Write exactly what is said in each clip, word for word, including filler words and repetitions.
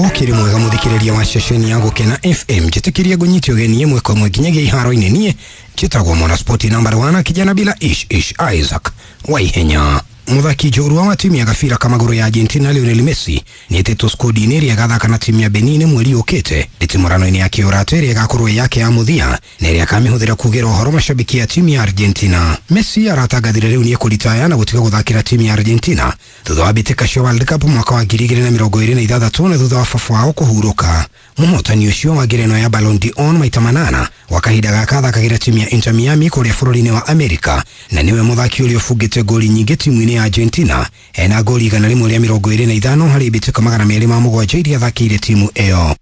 Ukiri mwega muthikiriria wa ceceni ya Gukena F M njitikiria ngunyite ugeni imwe kwa imwe nginyagia iharo-ini. Nie njitagwo mwana spoti number one kijana bila ish ish Isaac Waihenya. Muthaki njorua wa timu ya gabira kamaguru ya Argentina Lionel Messi nĩetĩtwo skodi-inĩ ĩrĩa ĩgathaka na timu ya Benin mweri ũkĩte ndĩtimũrano-inĩ ya kĩũrata ĩrĩa ĩgakorwo yake ya mũthia na ĩrĩa akamĩhũthĩra kugĩra ũhoro mashabiki ya timu ya Argentina. Messi aratangathire rĩu nĩekũritaya na gũtiga gũthakĩra timu ya Argentina thutha wa mbĩtĩka cia World Cup mwaka wa ngiri igĩrĩ na mĩrongo ĩrĩ na ithathatũ na thutha wa baba wao kũhurũka. Mũhotani ũcio wa ngerenwa ya Ballon d'Or maita manana wa kahinda gaka athakagĩra timu ya Inter Miami kũrĩa bũrũri-inĩ wa Amerika na nĩwe mũthaki ũrĩa ũbungĩte ngoli nyingĩ timu-inĩ ya Argentina ena ngoli igana rĩmwe rĩa mĩrongo ĩrĩ na ithano harĩ mbĩtĩka magana merĩ ma mũgwanja iria athakĩire timu ĩyo.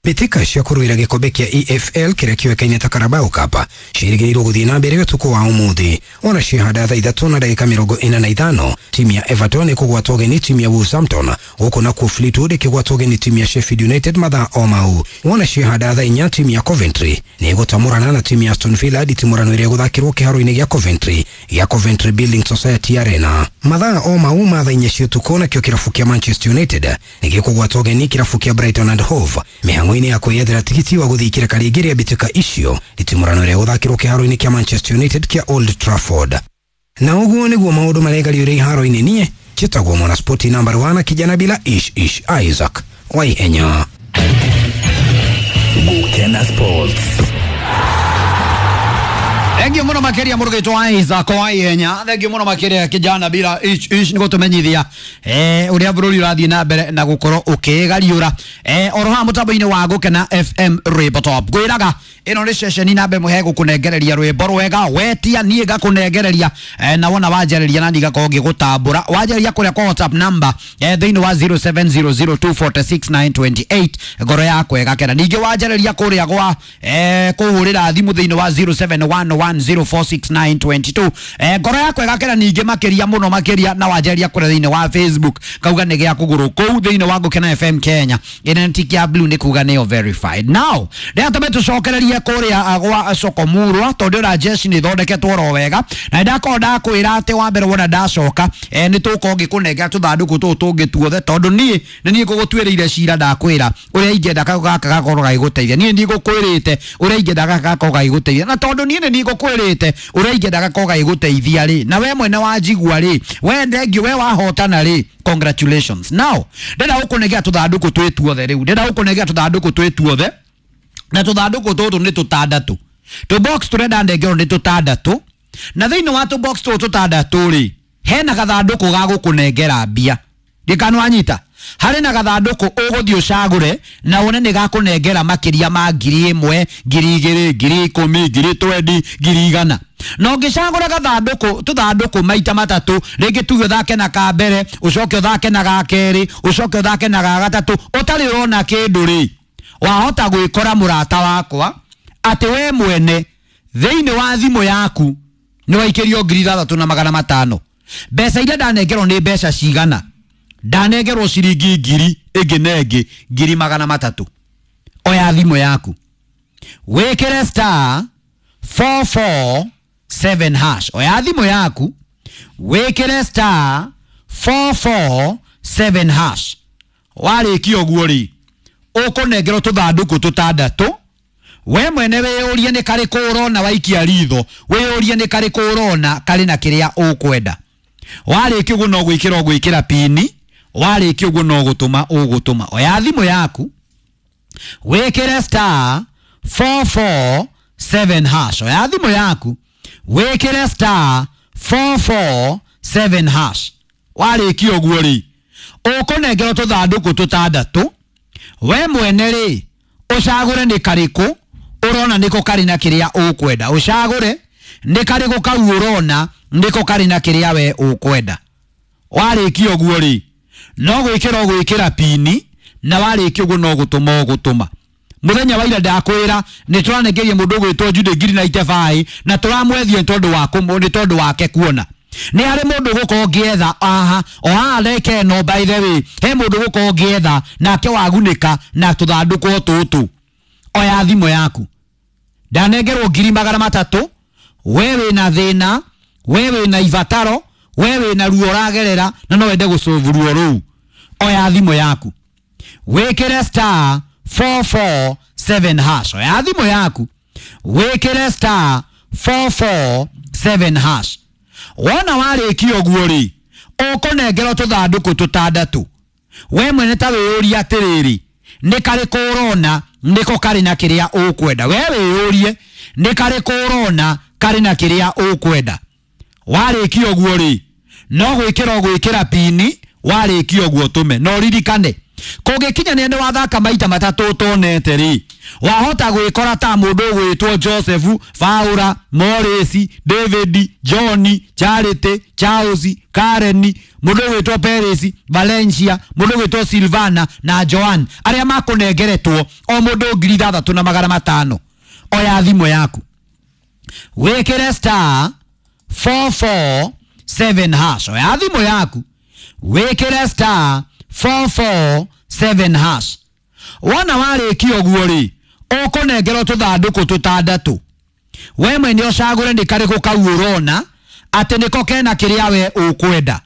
Mbĩtĩka cia kũrũĩra gĩkombe kĩa E F L kĩrĩa kĩoĩkaine ta Carabao Cup ciĩrĩgĩrĩirwo gũthiĩ na mbere ũtukũ wa ũmũthĩ. Ona ciahanda thaa ithatũ na ndagĩka mĩrongo ĩna na ithano timu ya Everton ĩkũgwatwo ũgeni timu ya Wolverhampton, gũkũ nakuo Fleetwood ĩkĩgwatwo ũgeni timu ya Sheffield United mathaa o mau. Wona ciahanda thaa inya timu ya Coventry nĩ ĩgũtamũrana na timu ya Aston Villa nditimũrano ĩrĩa ĩgũthakĩrwo kĩharo-inĩ gĩa Coventry gĩa Coventry Building Society Arena. Mathaa o mau ma thaa inya cia ũtukũ nakĩo kĩrabu kĩa Manchester United nĩ gĩkũgwatwo ũgeni kĩrabu kĩa Brighton and Hove mĩhang'o ya kwĩyethera tigiti wa gũthiĩ kĩreka rĩngĩ rĩa mbĩtĩka icio nditimũrano ĩrĩa ĩgũthakĩrwo kĩharo-inĩ kĩa Manchester United kĩa Old Trafford. Na ũguo nĩguo maũndũ maregariũre iharo-inĩ. Niĩ njĩtagwo mwana spoti number one kijana bila ish ish Isaac Waihenya. Gukena Sports. Thank you muno makiria murugitwo Isaac Waihenya. Thank you muno makiria kijana bila ish ish nĩ gũtũmenyithia eh ũrĩa bũrũri ũrathiĩ na mbere na gũkorwo ũkĩgariũra eh oro haha mũtambo-inĩ wa Gukena F M Rwĩmbo Top. Ngwĩraga ĩno nĩ ceceni namba ĩmwe hegũkũnengereria rwĩmbo rwega wetia niĩ ngakũnengereria eh, na wona wanjarĩria na niĩ ngakorwo ngĩgũtambũra. Wanjarĩria kũrĩa kwa WhatsApp number eh, thĩinĩ wa zero seven zero zero two four six nine two eight ngoro yakwa ĩgakena. Ningĩ wanjarĩria kũrĩa gwa eh, kũhũrĩra thimũ thĩinĩ wa zero seven one one zero four six nine two two eh, ngoro yakwa ĩgakena ningĩ makĩria mũno makĩria na wanjarĩria kũrĩa thĩinĩ wa Facebook kauga nĩ gĩa kũgũrũ kũu thĩinĩ wa Gukena F M Kenya ĩna tick ya blue nĩ kuga nĩyo verified. Now rĩrĩa tũcokererie kũrĩa gwa Sokomurwa tondũ ra jeshi nĩ ithondeketwo ro wega na ndakorwo ndakwĩra atĩ wa mbere wona ndacoka eh, nĩ tũkorwo ngĩkũnengera tũthandũkũ tũtũ tũngĩ tuothe tondũ niĩ nĩ niĩ ngũgũtuĩrĩire cira ndakwĩra ũrĩa ingĩenda gaka gakorwo gagĩgũteithia. Niĩ nĩ ngũkwĩrĩte ũrĩa ingĩenda gaka gakorwo gagĩgũteithia na tondũ niĩ nĩ niĩ ngũkwĩrĩte ũrĩa ingĩenda gakorwo gagĩgũteithia rĩ na we mwene wanjigua rĩ we thengiũ we wahotana rĩ congratulations. Now ndĩrenda gũkũnengera tũthandũkũ twĩ tuothe rĩu ndĩrenda gũkũnengera tũthandũkũ twĩ tuothe na tũthandũkũ tũtũ nĩ tũtandatũ tũ box tũrenda ndengerwo nĩ tũtandatũ na thĩinĩ wa tũ box tũtũ tũtandatũ rĩ hena gathandũkũ ga gũkũnengera mbia ndikanu wanyita harĩ na gathandũkũ ũgũthiĩ ũcagũre na wone nĩ gakũnengera makĩria ma ngiri ĩmwe ngiri igĩrĩ ngiri ikũmi ngiri twendi ngiri igana na ũngĩcagũra gathandũkũ tũthandũkũ maita matatũ rĩngĩ tuge ũthake na ka mbere ũcoke ũthake na ga kerĩ ũcoke ũthake na ga gatatũ ũtarĩ ũrona kĩndũ rĩ wahota gwĩkora mũrata wakwa atĩ we mwene thĩinĩ wa thimũ yaku nĩ waikĩrio ngiri ithathatũ na magana matano. Mbeca iria ndanengerwo nĩ mbeca cigana? Ndanengerwo ciringi ngiri ĩngĩ na ĩngĩ ngiri magana matatũ. Oya thimũ yaku wĩkĩre star four four seven hash. Oya thimũ yaku wĩkĩre star four four seven hash. Warĩkia ũguo rĩ ũkũnengerwo tũthandũkũ tũtandatũ we mwene wĩyũrie nĩ karĩkũ ũrona waikia ritho wĩyũrie nĩ karĩkũ ũrona karĩ na kĩrĩa ũkwenda. Warĩkia ũguo no gwĩkĩra ũgwĩkĩra pini warĩkia ũguo no gũtũma ũgũtũma. Oya thimũ yaku wĩkĩre star four four seven hash. Oya thimũ yaku wĩkĩre star four four seven hash. Warĩkia ũguo rĩ ũkũnengerwo tũthandũkũ tũtandatũ we mwene rĩ ũcagũre nĩ karĩkũ ũrona nĩko karĩ na kĩrĩa ũkwenda. Ũcagũre nĩ karĩkũ kau ũrona nĩko karĩ na kĩrĩa we ũkwenda. Warĩkia ũguo rĩ no gwĩkĩra ũgwĩkĩra pini na warĩkia ũguo no gũtũma ũgũtũma. Mũthenya wa ira ndakwĩra nĩ tũranengeria mũndũ ũgwĩtwo Jude ngiri na itebai na tũramwethia nĩ tondũ wa nĩ tondũ wake kuona nĩ harĩ mũndũ gũkorwo ngĩetha aha o haha reke no by the way he mũndũ gũkorwo ngĩetha nake wagunĩka na tũthandũkũ tũtũ. Oya thimũ yaku ndanengerwo ngiri magana matatũ we wĩna thĩna we wĩna ibataro we wĩna ruo ũragerera na no wende gũcũvu ruo rũu. Oya thimũ yaku Wĩkĩre star four four seven hash. Oya thimũ yaku wĩkĩre star four four seven hash. Wona warĩkia ũguo rĩ, ũkũnengerwo tũthandũkũ tũtandatũ. We mwene ta wĩyũrie atĩrĩrĩ, nĩ karĩkũ ũrona nĩko karĩ na kĩrĩa ũkwenda? We wĩyũrie nĩ karĩkũ ũrona karĩ na kĩrĩa ũkwenda? Warĩkia ũguo rĩ, no gwĩkĩra ũgwĩkĩra pini. Warĩkia ũguo tũme. No ririkane, kũngĩkinya nĩ wathaka maita matatũ ũtonete rĩ, wahota gwĩkora ta mũndũ ũgwĩtwo Joseph, Paula, Morris, David, John, Charity, Charles, Karen, mũndũ ũgwĩtwo Perez, Valencia, mũndũ ũgwĩtwo Silvana na Joan, arĩa makũnengeretwo o mũndũ ngiri ithathatũ na magana matano. Oya thimũ yaku wĩkĩre star four four seven hash. Oya thimũ yaku wĩkĩre star four four seven hash. Wona warĩkia ũguo rĩ, ũkũnengerwo tũthandũkũ tũtandatũ. We mwene ũcagũre nĩ karĩkũ kau ũrona atĩ nĩko kena kĩrĩa we ũkwenda.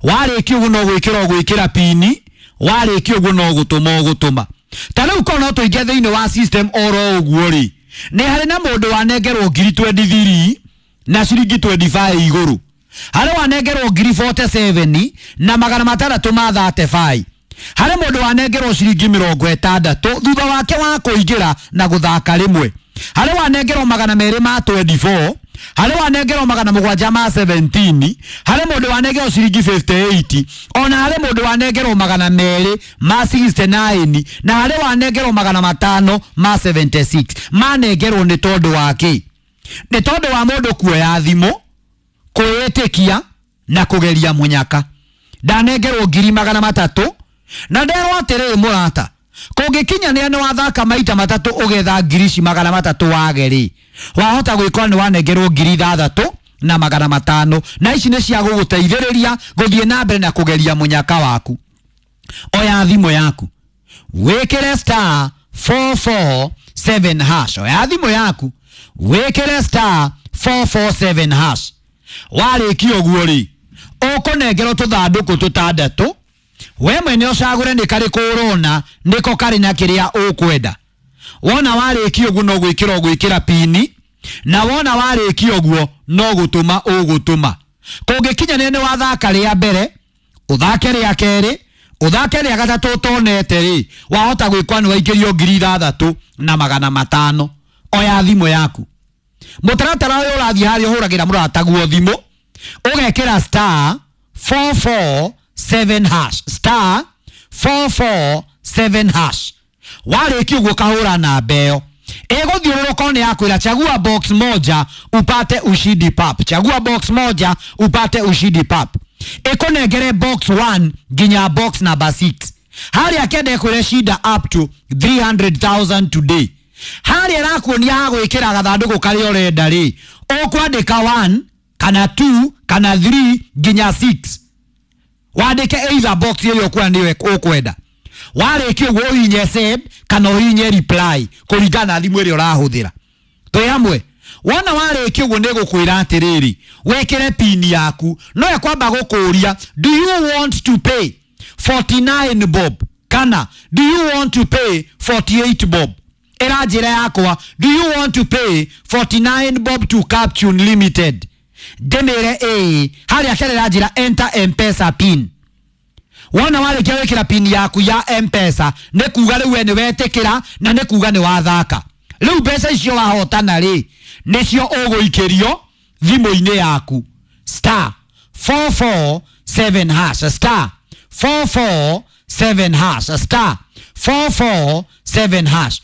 Warĩkia ũguo no gwĩkĩra ũgwĩkĩra pini. Warĩkia ũguo no gũtũma ũgũtũma. Ta rĩu korwo no tũingĩ thĩinĩ wa system oro ũguo rĩ, nĩ harĩ na mũndũ wanengerwo ngiri twenty three na ciringi twenty five igũrũ. Harĩ wanengerwo ngiri forty seven na magana matandatũ ma thirty five. Harĩ mũndũ wanengerwo ciringi mĩrongo ĩtandatũ thutha wake wa kũingĩra na gũthaka rĩmwe. Harĩ wanengerwo magana merĩ ma twenty four. Harĩ wanengerwo magana mũgwanja ma seventeen. Harĩ mũndũ wanengerwo ciringi fifty eight. Ona harĩ mũndũ wanengerwo magana merĩ ma sixty nine. Na harĩ wanengerwo magana matano ma seventy six. Manengerwo nĩ tondũ wa kĩ? Nĩ tondũ wa mũndũ kuoya thimũ, kwĩĩtĩkia na kũgeria mũnyaka. Ndanengerwo ngiri magana matatũ na nderwo atĩrĩrĩ mũrata, kũngĩkinya nĩ wathaka maita matatũ ũgetha ngiri ici magana matatũ wage rĩ, wahota gwĩkora nĩ wanengerwo ngiri ithathatũ na magana matano, na ici nĩ cia gũgũteithĩrĩria gũthiĩ na mbere na kũgeria mũnyaka waku. Oya thimũ yaku wĩkĩre star four four seven hash. Oya thimũ yaku wĩkĩre star four four seven hash. Warĩkia ũguo rĩ, ũkũnengerwo tũthandũkũ tũtandatũ. We mwene ũcagũre nĩ karĩkũ ũrona nĩko karĩ na kĩrĩa ũkwenda. Wona warĩkia ũguo no gwĩkĩra ũgwĩkĩra pini, na wona warĩkia ũguo no gũtũma ũgũtũma. Kũngĩkinya nĩ wathaka rĩa mbere, ũthake rĩa kerĩ, ũthake rĩa gatatũ ũtonete rĩ, wahota gwĩkwa nĩ waikĩrio ngiri ithathatũ na magana matano. Oya thimũ yaku. Mũtaratara ũyũ ũrathiĩ harĩa ũhũragĩra mũrataguo thimũ, ũgekĩra star four four seven hash, star four four seven hash. Warĩkia ũguo kahũra namba ĩyo, ĩgũthiũrũrũka nĩ yakwĩra chagua box moja upate ushindi pap. Chagua box moja upate ushindi pap. Ĩkũnengere box one nginya box number six. Harĩa kende ĩkwĩre shinda up to three hundred thousand today. Harĩa ĩrakuonia ha gwĩkĩra gathandũkũ karĩa ũrenda rĩ, ũkwandĩka one kana two kana three nginya six. Wandĩke either box ĩrĩa ũkuona nĩyo ũkwenda. Warĩkia ũguo ũhihinye send kana ũhihinye reply kũringana na thimũ ĩrĩa ũrahũthĩra. Twĩ hamwe. Wona warĩkia ũguo nĩ gũkwĩra atĩrĩrĩ, wĩkĩre pin yaku. No ĩkwamba gũkũria, do you want to pay forty nine bob kana do you want to pay forty eight bob? Ĩra njĩra yakwa, do you want to pay forty nine bob to Captune Limited? Ndĩmĩre ĩĩ. Harĩa kerera njĩra enter M-Pesa pin. Wona warĩkia gwĩkĩra pin yaku ya M-Pesa, nĩ kuga rĩu we nĩ wetĩkĩra na nĩ kuga nĩ wathaka. Rĩu mbeca icio wahotana rĩ, nĩcio ũgũikĩrio thimũ-inĩ yaku. Star four four seven hash, star four four seven hash, star four four seven hash.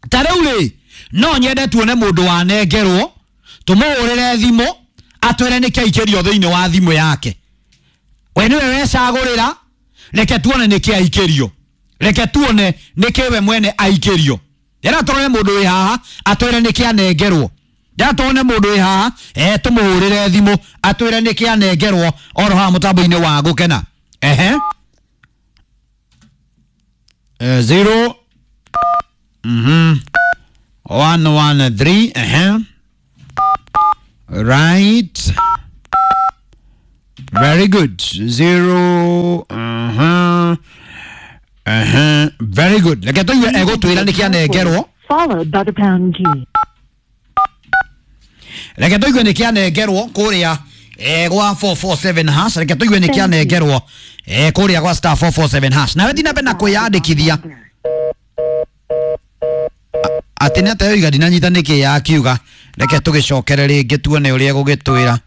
Ta rĩu rĩ, no nyende tuone mũndũ wanengerwo, tũmũhũrĩre thimũ atwĩre nĩkĩ aikĩrio thĩinĩ wa thimũ yake. We nĩwe wecagũrĩra, reke tuone nĩkĩ aikĩrio. Reke tuone nĩkĩ we mwene aikĩrio. Ndĩra tuone mũndũ wĩ haha atwĩre nĩkĩ anengerwo. Ndĩra tuone mũndũ wĩ haha, eh, tũmũhũrĩre thimũ atwĩre nĩkĩ anengerwo oro haha mũtambo-inĩ wa Gũkena. Ehe. Eh, zero mhm one one three, ehe. Right. Very good. Zero, uh-huh. Ehe, very good. Reke tũigue egũtwĩra nĩkĩ anengerwo. Followed by the pound key. Reke tũigue nĩkĩ anengerwo kũrĩa eh, gwa four four seven hash. Reke tũigue nĩkĩ anengerwo eh, kũrĩa gwa star four four seven hash. Nawe thiĩ na mbere na kwĩyandĩkithia. Atĩ nĩ atĩa oiga ndinanyita nĩkĩ yakiuga. Reke tũgĩcokere rĩngĩ tuone ũrĩa egũgĩtwĩra.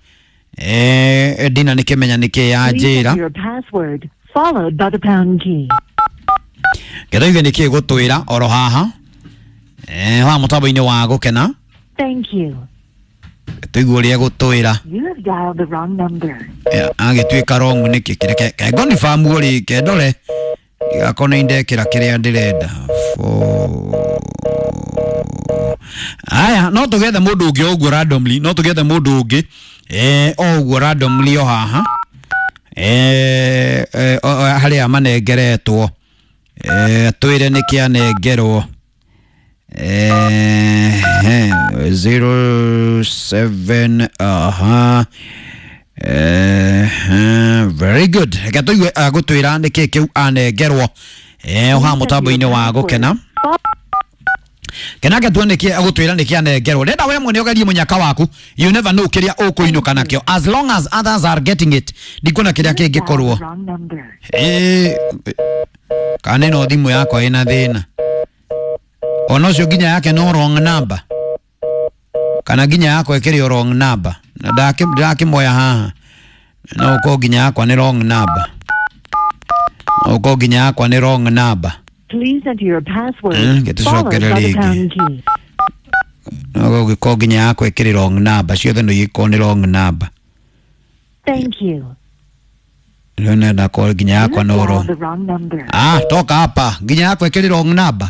Eh, ndina nĩkĩmenya nĩkĩ yanjĩra. Please enter your password followed by the pound key. Reke tũigue nĩkĩ ĩgũtwĩra oro haha. Eh, wa mũtambo-inĩ wa Gũkena. Thank you. Tũigue ũrĩa egũtwĩra. You have dialed the wrong number. Agĩtuĩka wrong nĩkĩ? Reke ngoni famu rĩ, kendore ndigakorwo nĩ ndekĩra kĩrĩa ndĩrenda. Aya, no tũgethe mũndũ ũngĩ o ũguo randomly, no tũgethe mũndũ ũngĩ eh, o ũguo randomly o haha eh, eh, harĩa manengeretwo eh, twĩre nĩkĩ anengerwo. Eh, zero seven, aha. Eh, very good. Reke tũigue agũtwĩra nĩkĩ kĩu anengerwo eh, o haha mũtambo-inĩ wa Gũkena. Kenake tuone nĩkĩ agũtwĩra nĩkĩ anengerwo. Ndenda we mwene ũgerie mũnyaka waku. You never know kĩrĩa ũkũinũka nakĩo. As long as others are getting it, ndikuona kĩrĩa kĩngĩkorwo. Eh, kana ĩno thimũ yakwa ĩna thĩna. Ona ũcio nginya yake no wrong number. Kana nginya yakwa ĩkĩrĩ o wrong number. Na ndakĩmoya haha. No ũkorwo nginya yakwa nĩ wrong number. No ũkorwo nginya yakwa nĩ wrong number. Please enter your password Mm, get followed by the rĩngĩ. pound key. No ũgĩkorwo nginya yakwa ĩkĩrĩ wrong number. Ciothe no igĩkorwo nĩ wrong number. Thank you. Rĩu nenda korwo nginya You yakwa have no dialed wrong. the wrong number. Ah, toka hapa. Nginya yakwa ĩkĩrĩ wrong number.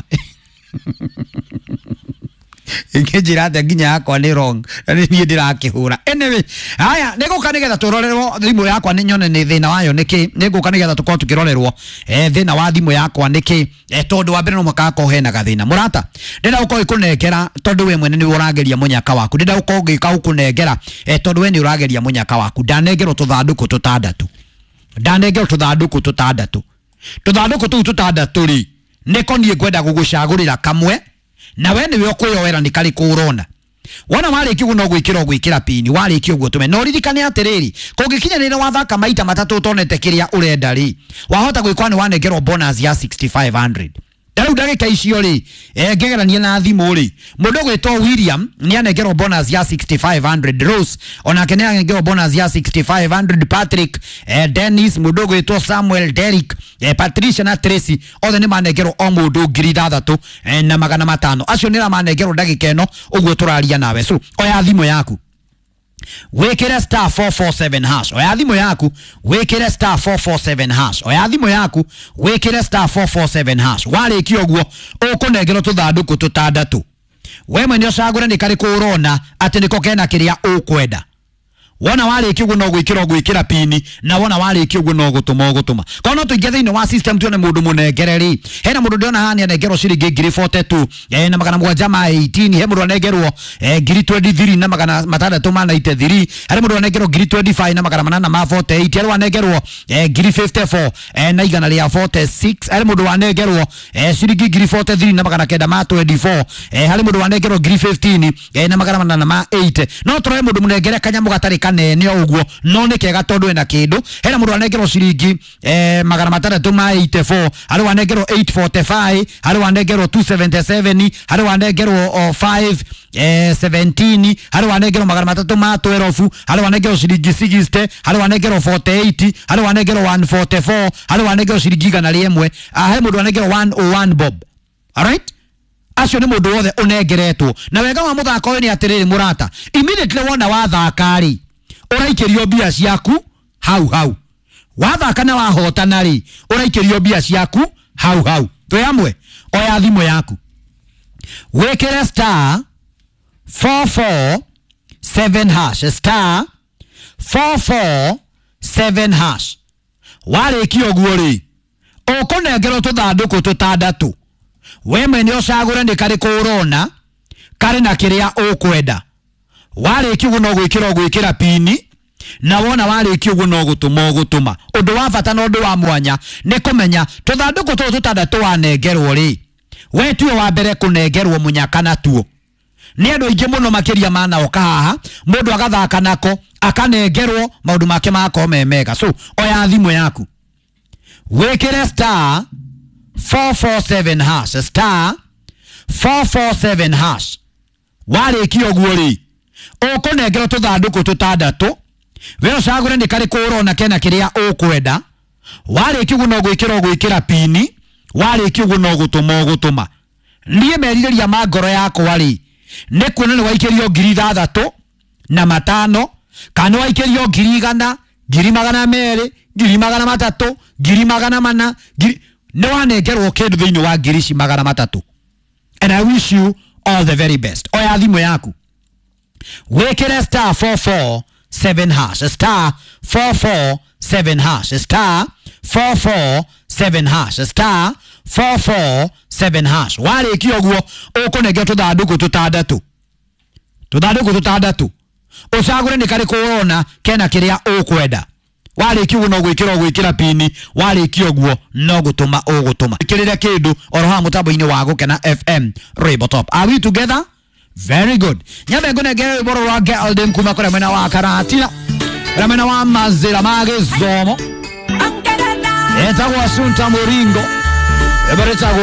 Ingĩnjĩra atĩa nginya yakwa nĩ wrong na nĩ niĩ ndĩrakĩhũra. Anyway, haya nĩngũka nĩgetha tũrorerwo thimũ yakwa nĩ nyone nĩ thĩna wayo nĩkĩ. Nĩngũka nĩgetha tũkorwo tũkĩrorerwo eh, thĩna wa thimũ yakwa nĩkĩ. Eh, tondũ wa mbere no mũhaka hakorwo hena gathĩna. Mũrata, ndĩrenda gũkorwo ĩkũnengera tondũ we mwene nĩwe ũrageria mũnyaka waku. Ndĩrenda gũkorwo ngĩka gũkũnengera eh, tondũ we nĩ ũrageria mũnyaka waku. Ndanengerwo tũthandũkũ tũtandatũ. Ndanengerwo tũthandũkũ tũtandatũ. Tũthandũkũ tũu tũtandatũ rĩ, nĩko niĩ ngwenda gũgũcagũrĩra kamwe na we nĩwe ũkwĩyoera nĩ karĩkũ ũrona. Wona warĩkia ũguo no gwĩkĩra ũgwĩkĩra pini, warĩkia ũguo tũme. Na ũririkane atĩrĩrĩ, kũngĩkinyanĩra wathaka maita matatũ ũtonete kĩrĩa ũrenda rĩ, wahota gwĩkora nĩ wanengerwo bonus ya six thousand five hundred. Ta rĩu ndagĩka icio rĩ, eh, ngĩgerania na thimũ rĩ, mũndũ ũgwĩtwo William nĩ anengerwo bonus ya six thousand five hundred. Rose onake nĩ anengerwo bonus ya six thousand five hundred. Patrick, eh, Dennis, mũndũ ũgwĩtwo Samuel, Derrick, eh, Patricia na Tracy othe nĩ manengerwo o mũndũ ngiri ithathatũ eh, na magana matano. Acio nĩ manengerwo ndagĩka ĩno ũguo tũraria nawe. So oya thimũ yaku wĩkĩre star four four seven hash. Oya thimũ yaku wĩkĩre star four four seven hash. Oya thimũ yaku wĩkĩre star four four seven hash. Warĩkia ũguo ũkũnengerwo tũthandũkũ tũtandatũ. We mwene ũcagũre nĩ karĩkũ ũrona atĩ nĩko kena kĩrĩa ũkwenda. Wona warĩkia ũguo no gwĩkĩra ũgwĩkĩra pini, na wona warĩkia ũguo no gũtũma ũgũtũma. Korwo no tũingĩ thĩinĩ wa system tuone mũndũ mũnengere rĩ, hena mũndũ ndĩrona haha nĩ anengerwo ciringi ngiri forty two eh, na magana mũgwanja ma eighteen. He mũndũ anengerwo eh, ngiri twenty three na magana matandatũ ma ninety three. Harĩ mũndũ anengerwo ngiri twenty five na magana manana ma forty eight. Harĩ wanengerwo eh, ngiri fifty four eh, na igana rĩa forty six. Harĩ mũndũ wanengerwo eh, ciringi ngiri forty three na magana kenda ma twenty four. Eh, harĩ mũndũ wanengerwo ngiri fifteen eh, na magana manana ma eight. No tũroe mũndũ mũnengere kanyamũ gatarĩ kanene o ũguo, no nĩ kega tondũ ena kĩndũ. Hena mũndũ anengerwo ciringi eh, magana matandatũ ma eighty four. Harĩ wanengerwo eight forty five. Harĩ wanengerwo two seventy seven. Harĩ wanengerwo o five eh, seventeen. Harĩ wanengerwo magana matatũ ma twelve. Harĩ wanengerwo ciringi sixty. Harĩ wanengerwo forty eight. Harĩ wanengerwo one forty four. Harĩ wanengerwo ciringi igana rĩmwe. Ah, he mũndũ wanengerwo one oh one bob. Alright? Acio nĩ mũndũ wothe ũnengeretwo. Na wega wa mũthako ũyũ nĩ atĩrĩrĩ mũrata, immediately wona wathaka rĩ, ũraikĩrio mbia ciaku hau hau. Wathaka na wahotana rĩ, ũraikĩrio mbia ciaku hau hau. Twĩ hamwe? Oya thimũ yaku wĩkĩre star four four seven hash, star four four seven hash. Warĩkia ũguo rĩ, ũkũnengerwo tũthandũkũ tũtandatũ. We mwene ũcagũre nĩ karĩkũ ũrona karĩ na kĩrĩa ũkwenda. Warĩkia ũguo no gwĩkĩra ũgwĩkĩra pini, Na wona warĩkia ũguo no gũtũma ũgũtũma. Ũndũ wa bata na ũndũ wa mwanya nĩ kũmenya tũthandũkũ tũtũ tũtandatũ wanengerwo rĩ, we tuo wa mbere kũnengerwo mũnyaka natuo. Nĩ andũ aingĩ mũno makĩria manaoka haha, mũndũ agathaka nako akanengerwo maũndũ make magakorwo me mega. So oya thimũ yaku wĩkĩre star four four seven hash, star four four seven hash. Warĩkia ũguo rĩ, ũkũnengerwo tũthandũkũ tũtandatũ, we ũcagũre nĩ karĩkũ ũrona kena kĩrĩa ũkwenda. Warĩkia ũguo no gwĩkĩra ũgwĩkĩra pini, warĩkia ũguo no gũtũma ũgũtũma. Niĩ merirĩria ma ngoro yakwa rĩ, nĩ kuona nĩ waikĩrio ngiri ithathatũ na matano, kana nĩ waikĩrio ngiri igana, ngiri magana merĩ, ngiri magana matatũ, ngiri magana mana, ngiri, nĩ wanengerwo kĩndũ thĩinĩ wa ngiri ici magana matatũ. And I wish you all the very best. Oya thimũ yaku wĩkĩre star four four seven hash, star four four seven hash, star four four seven hash, star four four seven hash. Warĩkia ũguo ũkũnengerwo tũthandũkũ tũtandatũ, tũthandũkũ tũtandatũ, ũcagũre nĩ karĩkũ ũrona kena kĩrĩa ũkwenda. Warĩkia ũguo no gwĩkĩra ũgwĩkĩra pini, warĩkia ũguo no gũtũma ũgũtũma. Ĩkĩrĩre kĩndũ oro haha mũtambo-inĩ wa Gũkena F M Rainbow Top. Are we together? Very good. Nyambe ngũnengere rwĩmbo rwa Geldin kuma kũrĩa mwena wa Karatina, kũrĩa mwena wa Mazĩra ma Gĩthomo. Etagwo Asunta Mũringo. Rwĩmbo rwĩtagwo